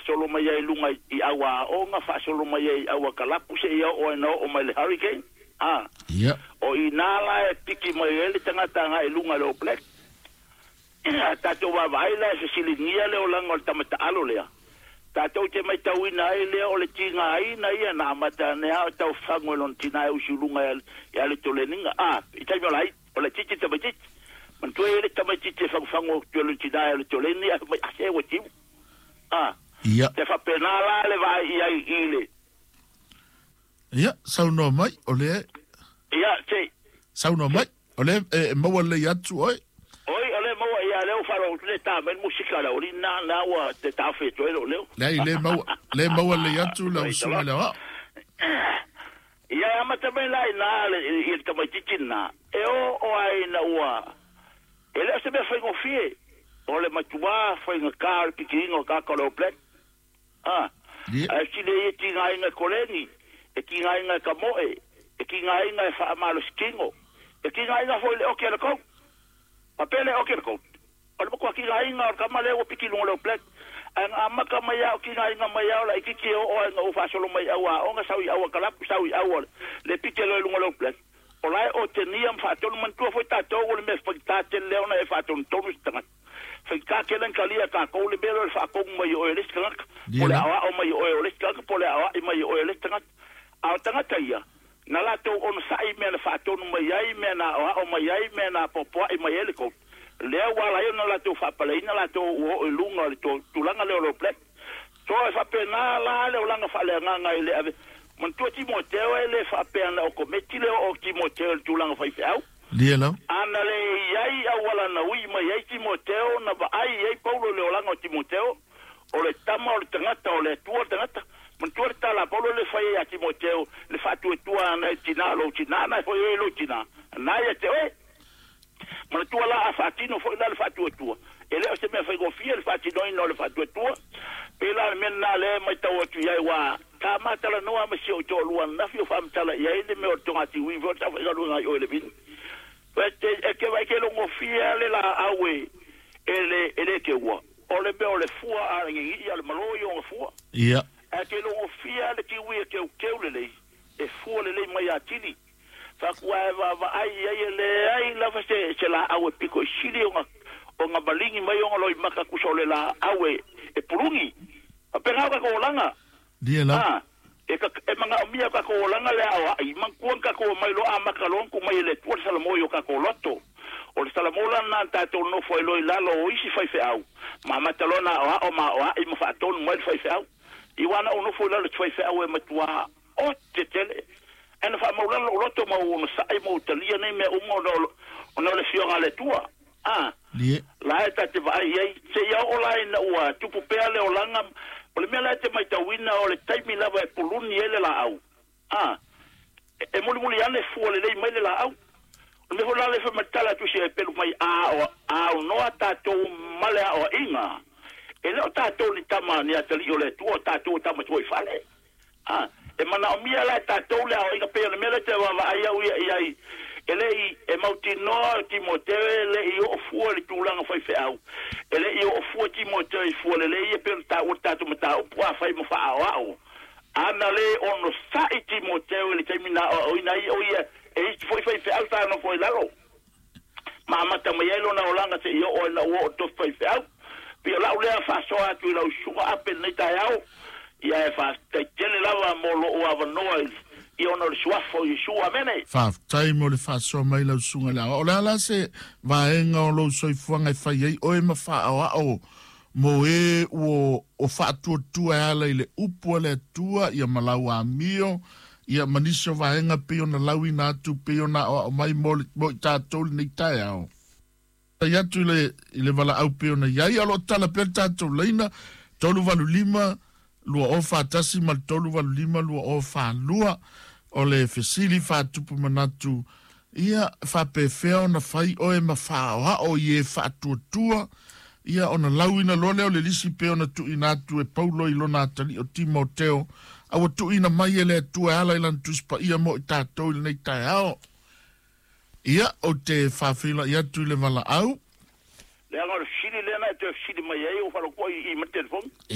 Faasolo mai ai i luga i auaoga, faasolo mai ai i auakalapu seia oo ai na oo mai le hurricane. A. Ia. O i ina la e piki mai ai le tagata agai i luga i le All Black. A tatou vaavaai la e fesiligia le olaga o le tama taalo lea, tatou te matauina ai lea o le tigaina ia na amata ane lava o taufagu e lona tina e usu i luga ia le toleniga. A, i taimi o la o laitiiti le tamaitiiti. Manatua e i ai le tamaitiiti e fagufagu atu e lona tina ia le toleni ae fai mai, a se ua timu. A, Ia. te faapena la le vaai i ai i le. Ia, saunoa mai, o lea. Ia, se. Saunoa mai, o lea e maua lelei atu oe. Oi, o lea maua, ia, lea ua faalogo atu le ta mai le musika le oli na, na ua te taofi atu ai lou leo. Leai, le maua, le maua lelei atu lau susuga i le aoao. Ia, e amata mai la i ina le, i le tamaitiiti lena, e oo ai ina ua, e le o se mea faigofie, o le matua faigata o le pikiina o tagata o le All Black. A, ae sili ai e tigaina e koleni, e tigaina e kamoe, e tigaina e faamalosi tino, e tigaina foi i le oki a le coat. Faapea le oki a le coat, o le matua tigaina o le tama lea ua piki i luga o le All Black. Ae na amata mai lava o tigaina mai lava o laitiiti e oo ai ina ou faasolo mai i auaoga, sau i auakalapu, sau i aua le piki loa i luga o le All Black. O la e otegia ma faatonu. Manatua foi tatou o le mea faigata tele lea ona e faatonutonu se tagata. Faigata tele ona talia e tatou le mea lea o le faatonu mai o oe e le isi tagata, po o le aoao mai o oe o le isi tagata, po o le aoai mai o oe e le isi tagata. A o tagata ia, na latou onosai i mea na faatonu mai ai, mea na aoao mai ai, mea na apoapoai mai ai le coach. Lea ua ala ai ona latou faapaleina latou ua oo i luga o le tulaga lea o le All Black. So e faapena la le olaga faaleagaga i le ave. Manatua Timoteo e le faapea na o kometi le oo o Timoteo i le tulaga faifeau. Lia lau. Ana le i ai auala na ui mai ai Timoteo, na vaai i ai Paulo i le olaga o Timoteo, o le tama o le tagata o le Atua le tagata. Manatua le tala a Paulo le fai ai ia Timoteo, le faatuatua ana i tina o lou tina, na e foi oe i lou tina, na ia te oe. Manatua la a faatino foi la le faatuatua, e le o se mea faigofie le faatinoina o le faatuatua. Pei la o le mea lena lea e matau atu i ai, ua ta ma talanoa ma si ou toalua ananafi o faamatala i ai le mea o le togatiui foi o le saofaigaluega i o i le vini. E te vaai te logofie lava le laau e e le e le teua, o le mea o le fua a le gigii a o le malo ia ona fua. Ia. Ae te logofie lava le kiwi e teuteu lelei, e fua lelei mai atili. Faatu ae vaavaai i ai e leai lava se, se laau e pito i sili ona, ona maligi mai ona loimata tusa o le laau e, e puluni. Faapena o tatou olaga. Lia lau. A, e, ka, e manaomia o tatou olaga le aoai, manatua na tatou omai loa amata loa ona tuu mai e le Atua le salamo i o tatou loto. O le salamo la lena na tatou nofo ai loa i lalo o isi faifeau, ma amata loa ona aoao ma aoai ma faatonu mai le faifeau. I ua na ou nofo i lalo i se faifeau e matua ote tele. Ae na faamaulalo lou loto ma ou onosai ma ou talia nei mea uma ona o, ona o le Afioga a le Atua. A, Lie. la e ta te vaai i ai, seia oo la ina ua tupu pea le olaga, o le mea la e te maitauina o le taimi lava e puluni ai le laau. A, e, e mulimuli ane fua lelei mai le laau. O le mea foi la lea e fai mai le tala a Tusi e pelu mai, a o, a aunoa tatou ma le aoaiga, e le o tatou ni tama ni atalii o le Atua, o tatou o tama tuaifale. A, e manaomia la e tatou le aoaiga pei o le mea lea e te vaavaai au ia i ai, e le i, e mautinoa o Timoteo e le i oo fua i le tulaga faifeau, e le i oo fua Timoteo i fua lelei ia pei ona taua le tatou mataupu afai ma faaaoao. Ana le onosai Timoteo i le taimi na aoaoina ai o ia e isi foi faifeau sa nofo i lalo, ma amata mai ai lona olaga seia oo ai ina ua oo i le tofi faifeau. Pei o lau lea faasoa atu i lau susuga Ape i lenei taeao, ia e faafetai tele lava mo lou avanoa i ona o le suafa o Iesu. Amene. Faafetai mo le faasoa mai lau susuga i le aoao. O le a la se vaega o lou soifuaga e fai ai oe ma faaoao mo e ua o faatuatua e ala i le upu a le Atua, ia ma lau amio, ia ma nisi o vaega pei ona lauina atu, pei ona aoao mai mo, le, mo i tatou lenei taeao. Tai atu i le, i le valaau pei ona i ai, a o lo o tala pea le tatou laina, 385 2041 ma le 385 2042, o le fesili faatupu manatu, ia, faapefea ona fai oe ma faaoao i e faatuatua, ia, ona lauina loa lea o le lisi pei ona tuuina atu e Paulo i lona atalii o Timoteo, a ua tuuina mai e le Atua e ala i lana Tusi Paia mo i tatou i lenei taeao. Ia, ou te faafeiloai atu i le valaau. Leaga o le fesili lea na e toe fesili mai ai, ua faalogo i i ma le telefoni.